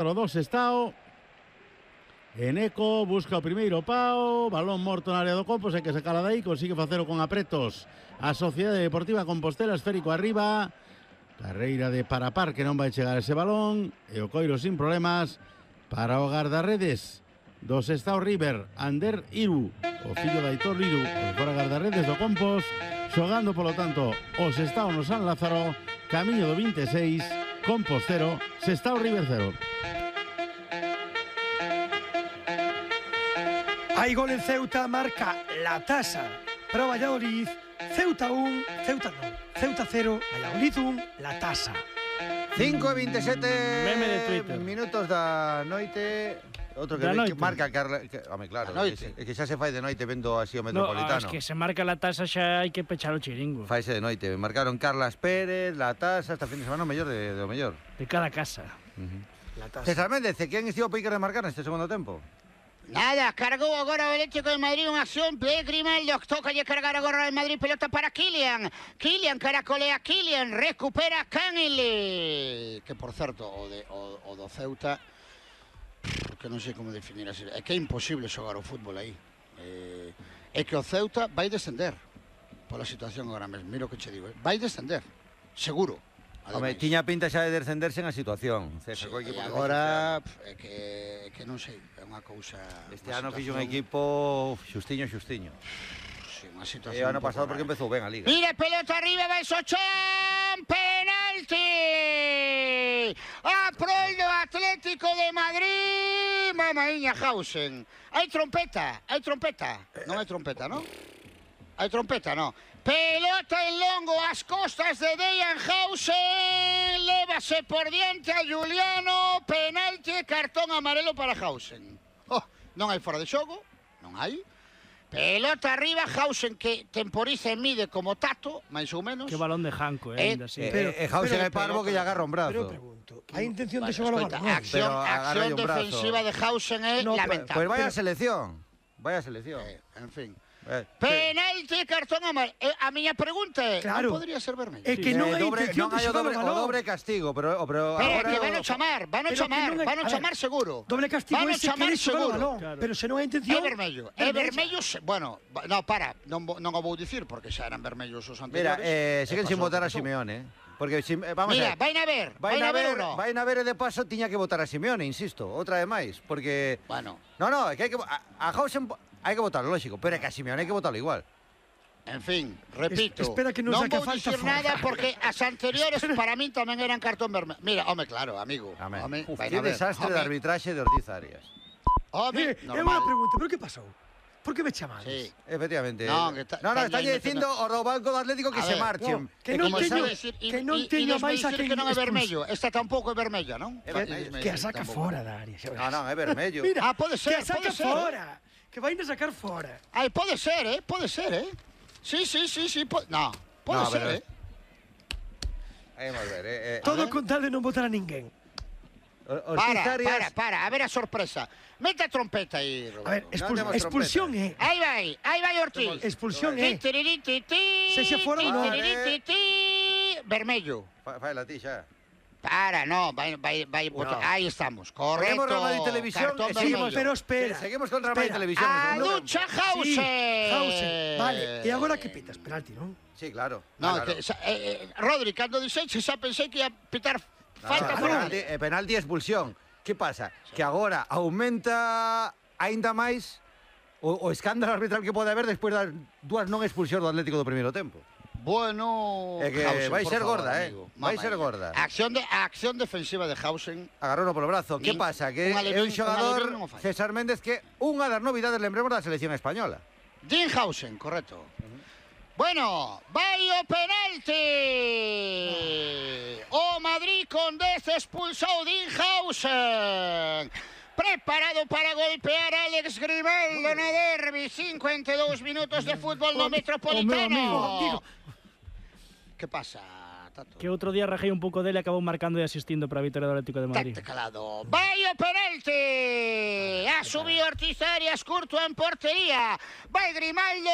do Sestao. Eneco busca o primeiro pao, balón morto na área do campo, sei que se cala dai, consigue facelo con apretos a Sociedade Deportiva Compostela, esférico arriba, carreira de Parapar que non vai chegar ese balón, e o coiro sin problemas para o guardarredes do Sestao River, Ander Iru, o fillo de Aitor Iru, o fora guardarredes do Compos, xogando polo tanto o Sestao no San Lázaro, camiño do 26, Compos 0, Sestao River 0. Hai gol en Ceuta, marca la tasa para o Valladolid. Ceuta 1, Ceuta 0, Valladolid 1, la tasa. 5:27 Meme de Twitter. minutos da noite. Outro que marca Carla, home, claro, que xa se fai de noite vendo así o Metropolitano. No, es que se marca la tasa xa hai que pechar o chiringo. Faise de noite. Marcaron Carlas Pérez, la tasa, esta fin de semana o mellor do mellor. De cada casa. La tasa. César Méndez, quen estivo a picar de marcar neste segundo tempo? Nada, cargou agora o Atlético de Madrid unha acción de Grimaldo, toca lle cargar agora o Madrid, pelota para Kylian, caracolea Kylian, recupera Canele, que por certo o do Ceuta, que non sei como definir así, é que é imposible xogar o fútbol aí, é que o Ceuta vai descender pola situación agora mesmo, miro que che digo, vai descender, seguro. Home, tiña pinta xa de descenderse na situación. Sí, agora é que non sei, é unha cousa. Este ano fixo un equipo xustiño. Sí, unha situación. E o ano pasado porque empezou ben a Liga. Mira, pelota arriba, vai Sochan, penalti! A prol do Atlético de Madrid, mamaíña Hausen. Hai trompeta. Non hai trompeta, non? Hai trompeta, non? Pelota en longo ás costas de Dejan Hausen, lévase por diante a Juliano, penalti e cartón amarelo para Hausen. Non hai fora de xogo, non hai. Pelota arriba, Hausen que temporiza e mide como Tato, máis ou menos. Que balón de Janco, ainda así. Hausen é parvo que lle agarra un brazo. Pero pregunto, hai intención de xogar o balón? Acción defensiva de Hausen é lamentable. Pois vai a selección. En fin. Penalti, cartón amarelo. A miña pregunta é, non podría ser vermello? É que non hai intención de xogar o balón. O dobre castigo, pero agora que van a chamar seguro. Doble castigo é se quere xogar o balón, pero se non hai intención... É vermello, bueno, non o vou dicir porque xa eran vermellos os anteriores. Mira, siguen sin votar a Simeone, porque vamos a ver. Mira, vai na ver ou non? Vai na ver e de paso tiña que votar a Simeone, insisto, outra vez máis, porque bueno. No, é que hai que a Hausen hai que votarlo, lógico, pero é que a Simeone hai que votarlo igual. En fin, repito, espera que non vou dicir nada porque as anteriores para min tamén eran cartón vermello. Mira, home, claro, amigo. Que desastre de arbitraxe de Ortiz Arias. Home, normal. É unha pregunta, pero que pasou? Por que me chamades? Sí. Efectivamente. No, está dicindo o do Banco do Atlético que se marchen. Que non teño máis a que non é vermello. Esta tampouco é vermella, non? Que a saca fora da área. Non, é vermello. Mira, pode ser, que a saca fora. Que vai a sacar fora. Pode ser, Sí. No, pode ser, Vamos ver, Todo con tal de non votar a ninguén. Para, a ver a sorpresa. Mete a trompeta aí, Roberto. A ver, expulsión é. Aí vai Ortiz. Expulsión é. Se xa fora ou non. Vermello. Fai la ti xa. Para, no, vai votar. Aí estamos, correcto. Seguimos Radio Televisión, pero espera. Seguimos con Radio Televisión. A lucha Hausen. Vale, e agora que pitas? Penalti, non? Sí, claro. Rodri, cando dixeche xa pensei que ia pitar falta penalti e expulsión. Que pasa? Que agora aumenta aínda máis o escándalo arbitral que pode haber despois das dúas non expulsións do Atlético do primeiro tempo. Bueno, é que Hausen, vai ser gorda, vai ser gorda. A acción defensiva de Hausen. Agarrouno polo brazo. Que pasa? Que é un xogador, César Méndez, que unha das novidades, lembremos, da selección española. Dean Hausen, correcto. Bueno, vai o penalti. O Madrid con 10 expulsou Dean Hausen. Preparado para golpear a Alex Grimaldo no derbi. 52 minutos de fútbol no Metropolitano. Que pasa, Tato? Que outro día rajei un pouco dele e acabou marcando e asistindo para a vitória do Atlético de Madrid. Tate calado. Vai o penalti. A subiu Ortiz Arias, curto en portería. Vai Grimaldo.